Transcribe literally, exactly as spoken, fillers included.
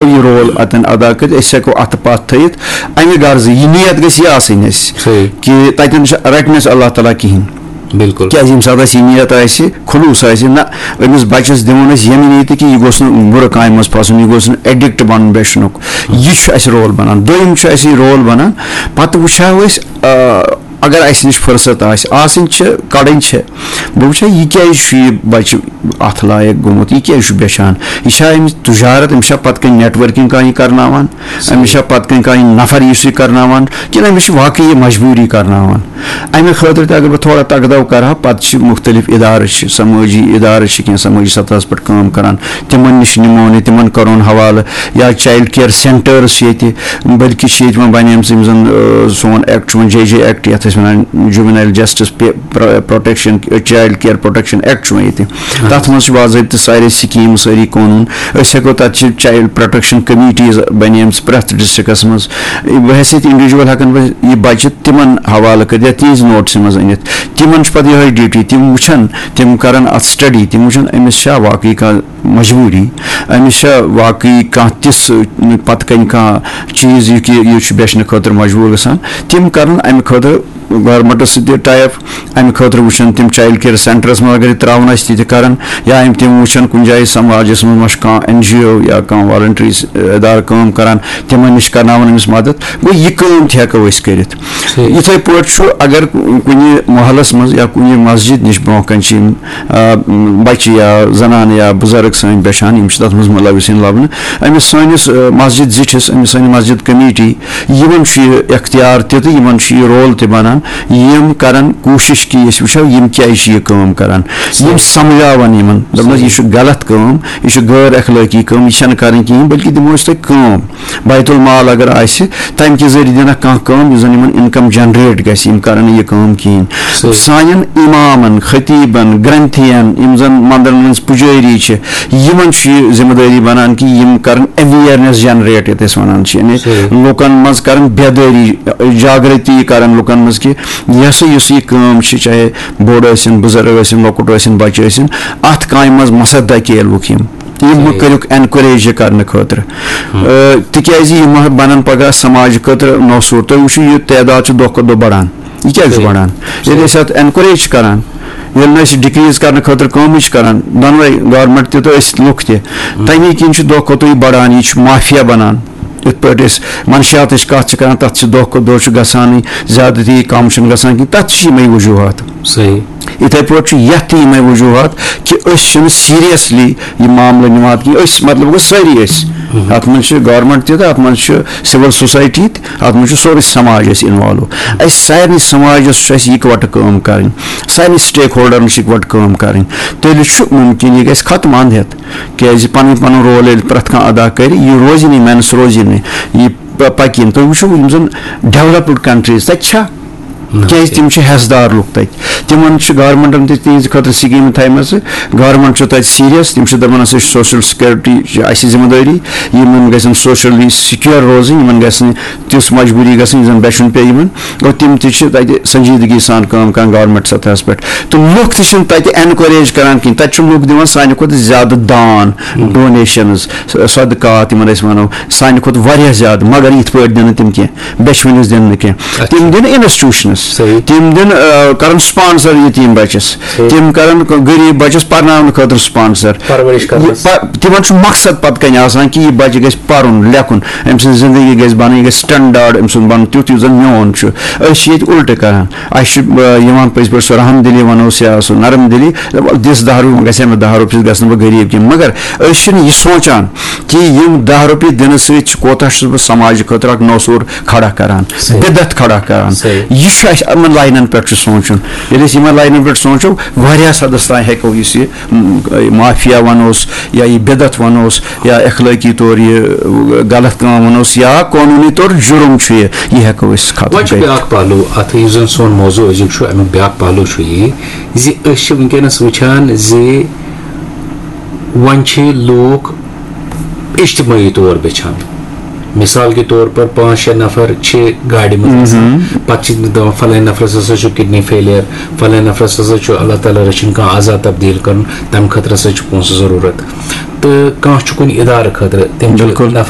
یہِ رول اتٮ۪ن ادا کٔرِتھ، أسۍ ہٮ۪کو اتھٕ پتھ تھٲیِتھ۔ امہِ غرضہٕ یہِ نیت گژھِ یہِ آسٕنۍ اَسہِ، صحیح۔ کہِ تتٮ۪ن چھِ، رٹہِ نہٕ اَسہِ اللہ تعالیٰ کِہینۍ۔ بِلکُل۔ کیازِ ییٚمہِ ساتہٕ اَسہِ یہِ نیت آسہِ، خلوٗص آسہِ، نہ، أمِس بچس دِمو نہٕ أسۍ ییٚمہِ نیتہِ کہِ یہِ گوٚژھ نہٕ بُرٕ کامہِ منٛز پھسُن، یہِ گوٚژھ نہٕ ایڈکٹ بنُن بیچھنُک۔ یہِ چھُ اَسہِ رول بنان۔ دوٚیِم چھُ اَسہِ یہِ رول بنان، پتہٕ وٕچھو أسۍ، آ، اگر اَسہِ نِش فرصت آسہِ، آسٕنۍ چھِ، کڑٕنۍ چھِ، بہٕ وٕچھٕ، یہِ کیٛازِ چھُ یہِ بَچہٕ اَتھ لایق گوٚمُت، یہِ کیٛازِ چھُ بیچھان؟ یہِ چھا أمِس تجارت، أمِس چھا پَتہٕ کَنہِ نیٹؤرکِنگ کانٛہہ یہِ کرناوان؟ أمِس چھا پَتہٕ کَنہِ کانٛہہ یہِ نفر یُس یہِ کرناوان؟ کِنہٕ أمِس چھِ واقعی یہِ مجبوٗری کرناوان؟ اَمہِ خٲطرٕ تہِ اگر بہٕ تھوڑا تَگدَو کرٕ ہا، پَتہٕ چھِ مُختٔلِف اِدارٕ چھِ، سمٲجی اِدارٕ چھِ کینٛہہ سمٲجی سطحَس پٮ۪ٹھ کٲم کران، تِمن نِش نِمون یہِ، تِمن کرون حوالہٕ، یا چایلڈ کیئر سینٹٲرٕس چھِ ییٚتہِ، بلکہِ چھِ ییٚتہِ وۄنۍ بَنیمژٕ یِم زَن، آ، سون ایکٹ چھُ وۄنۍ جے جے ایکٹ، یَتھ أسۍ وَنان juvenile justice protection, child care protection act چھُ وۄنۍ ییٚتہِ۔ تَتھ منٛز چھِ باضٲبطہٕ سارے سکیٖمہٕ، سٲری قونوٗن۔ أسۍ ہٮ۪کو تَتہِ چھِ چایلڈ پروٹیکشن کمیٹیٖز بَنیمژٕ پرٛٮ۪تھ ڈسٹرکٹس منٛز۔ بحیثیت انڈیویجول ہٮ۪کن بہٕ یہِ بَچہٕ تِمن حوالہٕ کٔرِتھ یا تِہنٛزِ نوٹسہِ منٛز أنِتھ۔ تِمن چھُ پَتہٕ یِہوٚے ڈیوٹی، تِم وٕچھن، تِم کرن اَتھ سٹڈی، تِم وٕچھن أمِس چھا واقعی کانٛہہ مجبوٗری، أمِس چھا واقعی کانٛہہ تِژھ، پَتہٕ کَنہِ کانٛہہ چیٖز، یہِ کہِ یہِ چھُ بیچھنہٕ خٲطرٕ مجبوٗر گژھان، تِم کَرَن اَمہِ خٲطرٕ گورمٮ۪نٛٹَس سۭتۍ تہِ ٹاے اپ، اَمہِ خٲطرٕ وٕچھَن تِم چایلڈ کیئر سینٹرَس منٛز اگر یہِ ترٛاوُن آسہِ تہِ تہِ کَرَن، یا یِم تِم وٕچھَن کُنہِ جایہِ سماجَس منٛز ما چھُ کانٛہہ این جی او یا کانٛہہ والنٹری ادارٕ کٲم کَران، تِمَن نِش کَرناوَن أمِس مدد۔ گوٚو، یہِ کٲم تہِ ہٮ۪کو أسۍ کٔرِتھ۔ صحیح۔ یِتھَے پٲٹھۍ چھُ، اگر کُنہِ محلَس منٛز یا کُنہِ مسجد نِش برونٛہہ کَنہِ چھِ یِم، آ، بَچہِ یا زنانہٕ یا بُزرٕگ سٲنۍ بیچھان، یِم چھِ تَتھ منٛز مُلوث یِن لَبنہٕ، أمِس سٲنِس، آ، مسجد زِٹھِس، أمِس سٲنۍ مسجد کمیٹی، یِمَن چھُ یہِ اختیار تہِ تہٕ یِمَن چھُ یہِ رول تہِ بَنان، یِم کَرَن کوٗشِش کہِ أسۍ وٕچھو یِم کیٛازِ چھِ یہِ کٲم کَران۔ یِم صحیح۔ سَمجھاوَن یِمَن، دَپَن حظ، یہِ صحیح۔ چھُ غلط کٲم، یہِ چھُ غٲر اخلٲقی کٲم، یہِ چھَنہٕ کَرٕنۍ کِہیٖنۍ، بلکہِ دِمو أسۍ تۄہہِ کٲم۔ بیت المال اگر آسہِ، تَمہِ کہِ ذٔریعہٕ دِنکھ کانٛہہ کٲم، یُس زَن یِمَن انکم جنریٹ گژھِ، یِم کَرَن نہٕ یہِ کٲم کِہیٖنۍ۔ صحیح۔ سانٮ۪ن اِمامَن، خطیٖبَن، گرنتھیَن، یِم زَن مندرَن منٛز پُجٲری چھِ، یِمَن چھُ یہِ ذمہٕ دٲری بَنان کہِ یِم کَرَن اویرنیس جنریٹ، یَتھ أسۍ وَنان چھِ، یعنی صحیح۔ لُکَن منٛز کَرَن بیدٲری، جاگرتی کَرَن لُکَن منٛز کہِ یہِ ہسا یُس یہِ کٲم چھِ، چاہے بوٚڑ ٲسِن، بُزرٕگ ٲسِن، لۄکُٹ ٲسِن، بَچہٕ ٲسِن، اَتھ کامہِ منٛز مَسا دَکیلوُکھ یِم۔ یِم مہٕ صحیح۔ کٔرِکھ اینکوریج یہِ کرنہٕ خٲطرٕ۔ ہم۔ آ، تِکیازِ یِم بَنَن پگاہ سماج خٲطرٕ نوسوٗر۔ تُہۍ وٕچھِو، یہِ تعداد چھُ دۄہ کھۄتہٕ دۄہ بڑان۔ یہِ کیازِ چھُ صحیح۔ بڑان؟ ییٚلہِ صحیح۔ أسۍ اَتھ اینکوریج چھِ کران، ییٚلہِ نہٕ أسۍ ڈِکریٖز کرنہٕ خٲطرٕ کٲمٕے چھِ کران، دۄنوَے گورمنٹ تہِ تہٕ أسۍ لُکھ تہِ، ہم۔ تَمی کِنۍ چھُ دۄہ کھۄتہٕ دۄہ یہِ بڑان، یہِ چھُ مافیا بنان۔ یِتھ پٲٹھۍ أسۍ منشیاتٕچ کَتھ چھِ کران، تَتھ چھِ دۄہ کھۄتہٕ دۄہ چھُ گژھانٕے زیادٕ، تہِ کَم چھُنہٕ گژھان کِہیٖنۍ، تَتھ تہِ چھِ یِمَے وجوٗہات۔ صحیح۔ یِتھَے پٲٹھۍ چھُ یَتھ تہِ یِمَے وجوٗہات کہِ أسۍ چھِنہٕ سیٖریَسلی یہِ معاملہٕ نِوان کِہیٖنۍ۔ أسۍ، مطلب گوٚو، سٲری أسۍ۔ ہم۔ اَتھ منٛز چھِ گورمنٹ تہِ تہٕ اَتھ منٛز چھِ سِول سوسایٹی تہِ، اَتھ منٛز چھُ سورُے سماج اَسہِ اِنوالو۔ اَسہِ سارنٕے سماجَس چھُ اَسہِ یِکوَٹہٕ کٲم کَرٕنۍ، سارنٕے سٹیک ہولڈَرَن چھِ یِکوَٹہٕ کٲم کَرٕنۍ۔ تیٚلہِ چھُ مُمکِن یہِ گژھِ ختم اَنٛد ہٮ۪تھ۔ کیازِ پَنُن پَنُن رول ییٚلہِ پرٛٮ۪تھ کانٛہہ ادا کرِ، یہِ روزِ نہٕ، مینس روزِ نہٕ، یہِ پ-، پَکہِ نہٕ۔ تُہۍ وٕچھِو، یِم زَن ڈیولپڈ کنٹریٖز، تَتہِ چھا؟ نہ۔ کیازِ تِم چھِ حصہٕ دار لُکھ تَتہِ، تِمن چھِ گورمنٹن تہِ تِہنٛزِ خٲطرٕ سکیٖمہٕ تھایمژٕ، گورمنٹ چھُ تَتہِ سیریس، تِم چھِ دَپان، ہسا چھِ سوشل سیکورٹی چھِ اَسہِ ذمہٕ دٲری، یِمن گژھن سوشلی سیکیور روزٕنۍ، یِمن گژھِ نہٕ تِژھ مجبوٗری گژھٕنۍ، یُس زَن بیچھُن پیٚیہِ یِمن۔ گوٚو، تِم تہِ چھِ تَتہِ سنجیدگی سان کٲم کران گورمنٹ سطحس پٮ۪ٹھ۔ تہٕ لُکھ تہِ چھِنہٕ تَتہِ اینکوریج کران کِہیٖنۍ۔ تَتہِ چھِ لُکھ دِوان سانہِ کھۄتہٕ زیادٕ دان، ڈونیشنز، صدقات یِمن أسۍ وَنو، سانہِ کھۄتہٕ واریاہ زیادٕ، مگر یِتھ پٲٹھۍ دِنہٕ تِم کینٛہہ، بیچھوٕنِس دِنہٕ نہٕ کینٛہہ۔ اچھا۔ تِم دِنہٕ انسٹیٹیوشنس، صحیح۔ تِم دِنہٕ، آ، کرن سپانسر یتیٖم بچس، صحیح۔ تِم کرن غریٖب بچس پرناونہٕ خٲطرٕ سپانسر۔ پرورش کرنس۔ یہِ پ-، تِمن چھُ مقصد پتہٕ کنہِ آسان کہِ یہِ بچہِ گژھِ پرُن، لیکھُن، أمۍ سٕنٛز زندگی گژھِ بنٕنۍ، یہِ گژھِ سٹینڈارڈ أمۍ سُنٛد بنُن، تیُتھ یُتھ زن میون چھُ۔ أسۍ چھِ ییٚتہِ الٹہٕ کران۔ اَسہِ چھُ، آ، یِوان پٔزۍ پٲٹھۍ سۄ رحم دِلی وَنوس یا سُہ نرم دِلی، دَپان، دِس دَہ رۄپیہِ، وۄنۍ گژھِ ہا مےٚ دَہ رۄپیہِ، گژھٕ نہٕ بہٕ غریٖب کینٛہہ۔ مگر أسۍ چھِنہٕ یہِ سونٛچان کہِ یِم دَہ رۄپیہِ دِنہٕ سۭتۍ چھِ، کوتاہ چھُس بہٕ سماجہٕ خٲطرٕ اَکھ نوسوٗر کھڑا کران، صحیح۔ بِدعت کھڑا کران۔ صحیح۔ یہِ چھُ اَسہِ یِمَن لاینَن پٮ۪ٹھ چھُ سونٛچُن۔ ییٚلہِ أسۍ یِمَن لاینَن پٮ۪ٹھ سونٛچو، واریاہَس حدَس تام ہٮ۪کو أسۍ یہِ، م، مافیا وَنوس یا یہِ بِدعت وَنوس، یا اخلٲقی طور یہِ غلط کٲم وَنوس یا قونوٗنی طور جُرُم چھُ یہِ، یہِ ہٮ۪کو أسۍ ختم وۄنۍ چھُ کٔرِتھ۔ بیٛاکھ پہلو اَتھ، یُس زَن سون موضوع أزیُک چھُ، اَمیُک بیٛاکھ پہلو چھُ یہِ زِ أسۍ چھِ وٕنکیٚنَس وٕچھان زِ وۄنۍ چھِ لوٗکھ اجتمٲعی طور بیچھان۔ مثال کے طور پر پانٛژھ شےٚ نفر چھِ گاڑِ منٛز آسان، پتہٕ چھِ تِم دپان فلٲنۍ نفرس ہسا چھُ کڈنی فیلیر، فلٲنۍ نفرس ہسا چھُ اللہ تعالیٰ رٔچھِنۍ کانٛہہ عضا تبدیل کرُن، تمہِ خٲطرٕ ہسا چھُ پونٛسہٕ ضروٗرت۔ تہٕ کانٛہہ چھُ کُنہِ ادارٕ خٲطرٕ، تٔمۍ چھُ بِلکُل۔ نفر